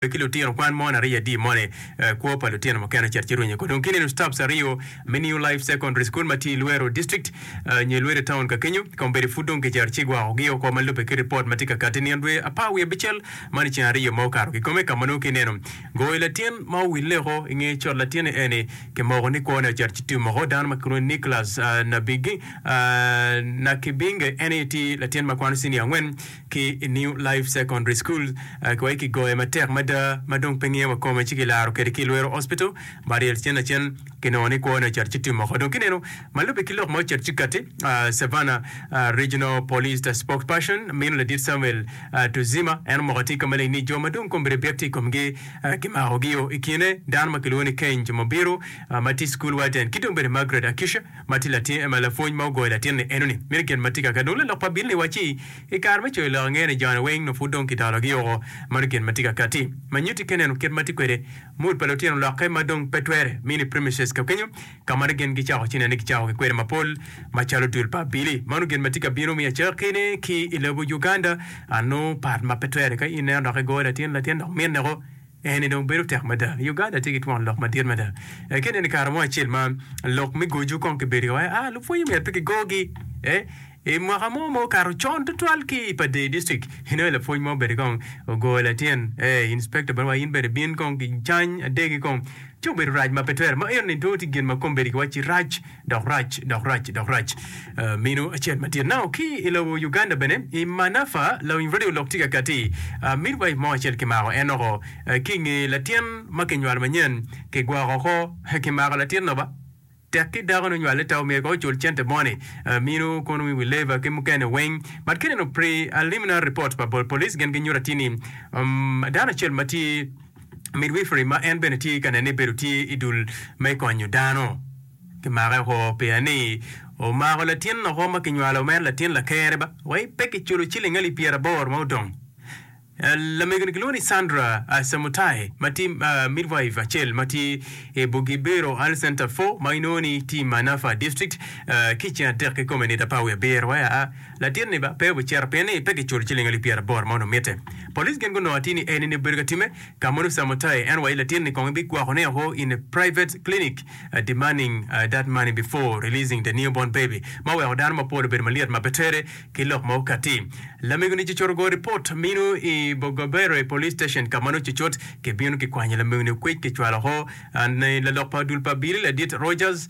Ki lutino kwan moni ariya adi moni kwo pa lutino mukene ocito ci rwenyo ko dong ki neno stops ariyo me New Life Secondary School ma tye i Luero District nyo i Luero Town ka kenyo kombeddi pud dong kicito ci gwako gi oko ma lubbe ki ripot ma tye ka kati nino dwe apar wiye abicel man i ceng ariyo ma okato kikome ka ma nongo ki neno goyo latin ma owille oko i nge cot latin ni eni kimoko ni kwone ocito ci tum oko dano ma kilwongo ni Nicholas Nabigi Nakibinge en aye tye latin ma kwano senior angwen ki i New Life Secondary School kiwaci kigoye matek mada ma dong pe ngiyo wa kome ci kilaro kwede ki i Lwero Hospital ma ryel cen lacen kinongo ni kwone ocito ci tum oko. Dong kineno ma lubbe ki lok ma ocito ci kati, Savannah Regional Police Spokesperson mino ladit Samuel Tuzima en omoko atir ka maleng ni jo ma dong kombeddi byek tye i komgi kimakogi-o i kine dano ma kilwongo ni Kenj Mubiru ma tye i school warden ki dong bene Margaret Akisha ma tye latin lapwony ma ogoyo latin-ni enoni. Meno gin ma tye kaka dong lalok pa abili-ni wacci I kare me coyo lok angeyo ni joni weng nongo pud dong kidologi woko. Mano gin ma tye ka katti ma nyutti ka ineno kit ma tye kwede mood pa lutino lokke ma dong pe twere. Mini premises ka kenyo ka ma gin gicako ci nene gicako ki kwede mapol macalo dul pa abili. Mano gin ma tye ka bino mi acakine ki i lobo Uganda anongo pat ma pe twere ka in ineno dok igoyo latin latin dok minne ko. Eni dong bedo tek mada. Uganda tye ki twon lok madit mada. Ka ineno i kare mo acel ma lok me goju kong kibedo ka waco, ah, lupwonye myero pe kigogi. Eh, i mwaka mo ma okato con tutwal ki i Padey District, inongo lapwony mo bene kong ogoyo latin. Eh, inspector bene wa in bene bin kong kicany adegi kong. Ci obedo rac ma pe twere. Ma eno ni dong tye gin ma kombeddi kiwacci rac. Dok rac, dok rac, dok rac. Minu acel madit. Now, ki i lobo Uganda bene, i Manafa, lawiny radio lok tye ka kati. Midwife mo acel kimako en oko ki i nge latin ma kinywalo manyen, kigwoko oko, kimako latin-nu ba. Tek ki dako ni onywale ta omyero kong ocul cente moni. Minu kono wi labor ki mukene weng. But ka ineno preliminary report pa police gin ginyuto atir ni dano acel ma tye midwifery ma en bene tye ka nene ni bedo tye i dul me konyo dano. Kimake oko pia ni omako latin oko ma kinywalo mere latin lakere ba wai pe kiculo ciling alip pyeraboro ma odong. Lamego-ni kilwongo ni Sandra Samutai ma tye midwife acel ma tye i Bugibero Health Center 4 ma inongo ni tye i Manafa District ki i ceng adek kikome nito apar wiye abiro wai aa latin-ni ba pe obicito pien ni pe kiculo ciling alip pyeraboro ma onongo mitte. Police gin gunongo atir ni eni-ni obedo ka timme ka mono Samutai en wai latin-ni kong ibigwokone oko in a private clinic. demanding that money before releasing the newborn baby ma oweko dano mapol obedo malyet ma pe tere ki lok ma okati. Lamego ni cucut ogoyo ripot mino i Bogobere Police Station ka ma nongo cucut kibino kikwanyo lamego ni okwec kicwalo oko ni lalok pa dul pa abili ladit Rogers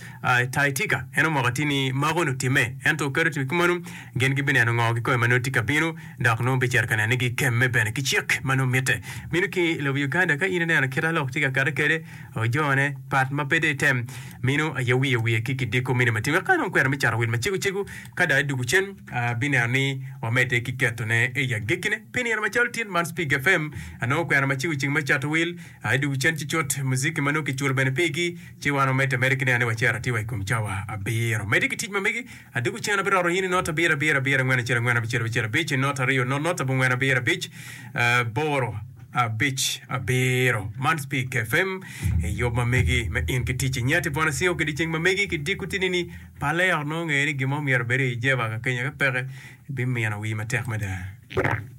Taitika en omoko atir ni mako ni otime ento kadi otime kumeno gin gibineno ngo kikome ma nongo tye ka bino dok nongo bicito ka neno ni gikemme bene ki cik ma nongo mitte. Mino ki i lobo Uganda ka in ineno kit a lok tye ka kati kwede Ojone pat ma pe dong item mino aye wiye wiye ki kidiko mine matin wek ka nongo kwena me cato wil macego cego ka dong idwogo cen abineno ni wamedde ki ketone i agikkine pi nino macalo tin man Spig FM anongo kwena macego ceng me cato wil idwogo cen ci cut muziki ma nongo kiculo bene pigi ci wan wamedde ameda ki neno ni wacito atir wa i kom cawa abiro medde ki tic ma megi adwogo cen abiroto in i not abiro abiro abiro angwen acel angwen abicel abicel abic not aryo not not abongwen abiro abic boro abic abiro. Man Speak FM i yub ma megi me in ki tic. Inyati bwana Sio ki dyeceng ma megi ki diko tini ni pale ot nongo ngeye ni gin mo myero obed i jeba ka kenya ka peke bimino wii matek mada.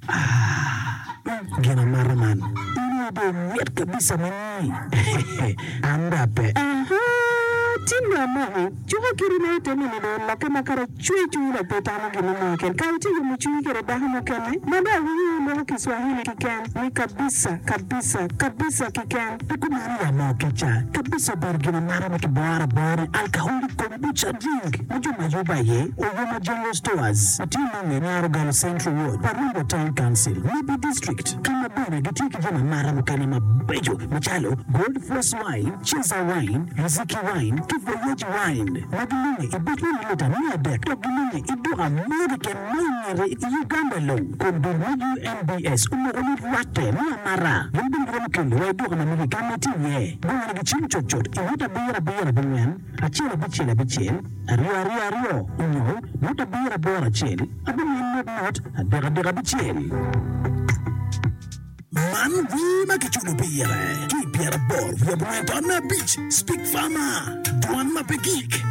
Ah, gin amata man. In aye dong imit kabisa ma ni. An dong ape. Aha, tin dong amoko. Cuka kiti ma ite mini dong olokke ma kara cwer cwinyi dok pe itamo gin mo keken. Kara itye yomo cwinyi kede dako mukene ma dong awinyo in iloko Kiswahili kiken ni kabisa, kabisa, kabisa kiken. Pe kumeno ya moo kica. Kabisa obedo gin amata ma kiboro abora ni alcoholic kombucha drink ma jo ma yubo aye Oyoma General Stores ma tye nonge Nyaro Galo Central Ward, Parumbo Town Council, Nebbi District ka ma bene gitye ki jami amata mukene mabeco macalo Gold Force Wine, Cheza Wine, Riziki Wine ki Voyage Wine ma gilunge i buc me milita 300 dok gilunge i duka mo keken ma i ngete i Uganda lung. Kun dul me UNBS omoko ni rwatte me amata gin bene giromo kelo wa i duka ma megi ka ma itye iye. Gongone gicim cutcut i ngut abiro abiro abongwen, acel abicel abicel, aryo aryo aryo, onyo ngut abiro aboro acel, abongwen nut nut, adek adek abicel. Man wer ma kiculo pire ki i pyeraboro wiye abongwen taun me abic, Speak Farmer, Dwan ma pe gik.